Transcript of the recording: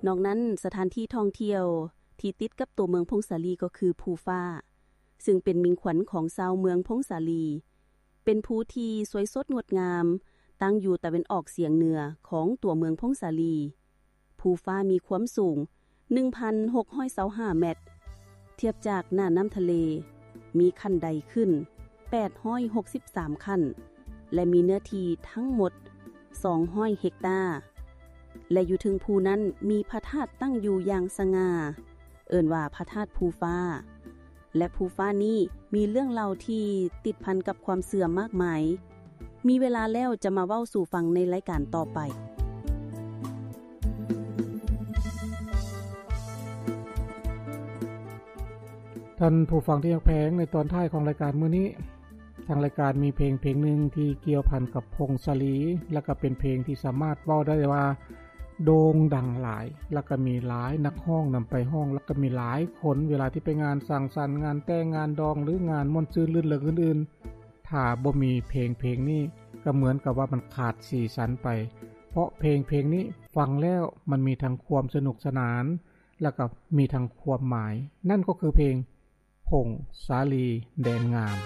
ນອກນັ້ນ ສະຖານທີ່ທ່ອງທ່ຽວທີ່ຕິດກັບຕົວເມືອງຜົ້ງສາລີ ກໍຄືພູຟ້າ ຊຶ່ງເປັນມິ່ງຂວັນຂອງຊາວເມືອງຜົ້ງສາລີ, ເປັນພູທີ່ສວຍສົດງົດງາມ ຕັ້ງຢູ່ຕາເວັນອອກສຽງເໜືອຂອງຕົວເມືອງຜົ້ງສາລີ. ພູຟ້າມີຄວາມສູງ ໜຶ່ງພັນຫົກຮ້ອຍຊາວຫ້າແມັດ, ທຽບຈາກໜ້ານ້ຳທະເລ ມີຂັ້ນໄດຂຶ້ນ ແປດຮ້ອຍຫົກສິບສາມຂັ້ນ ແລະ ມີເນື້ອທີ່ທັງໝົດ ສອງຮ້ອຍເຮັກຕາ ແລະ ຢູ່ເທິງພູນັ້ນມີພະທາດຕັ້ງຢູ່ຢ່າງສະຫງ່າ ເອີ້ນວ່າພະທາດພູຟ້າ ແລະ ພູຟ້ານີ້ມີເລື່ອງເລົ່າທີ່ຕິດພັນກັບຄວາມເຊື່ອມາກມາຍ. ມີເວລາແລ້ວຈະມາເວົ້າສູ່ຟັງໃນລາຍການຕໍ່ໄປ. ທ່ານຜູ້ຟັງທີ່ຮັກແພງ, ໃນຕອນທ້າຍຂອງລາຍການມື້ນີ້, ທາງລາຍການມີເພງເພງໜຶ່ງທີ່ກ່ຽວພັນກັບຜົ້ງສາລີ ແລະ ກໍເປັນເພງທີ່ສາມາດເວົ້າໄດ້ວ່າໂດ່ງດັງຫຼາຍ ແລະ ກໍມີຫຼາຍນັກຮ້ອງນຳໄປຮ້ອງ ແລະ ກໍມີຫຼາຍຄົນເວລາທີ່ໄປງານສັງສັນ, ງານແຕ່ງ, ງານດອງ ຫຼື ງານມ່ວນຊື່ນລື່ນເລີງອື່ນໆ, ຖ້າບໍ່ມີເພງເພງນີ້ ກໍເໝືອນກັບວ່າມັນຂາດສີສັນໄປ, ເພາະເພງເພງນີ້ຟັງແລ້ວມັນມີທັງຄວາມສະໜຸກສະໜານ ແລະ ກໍມີທັງຄວາມໝາຍ, ນັ້ນກໍຄືເພງ ຜົ້ງສາລີແດນງາມ.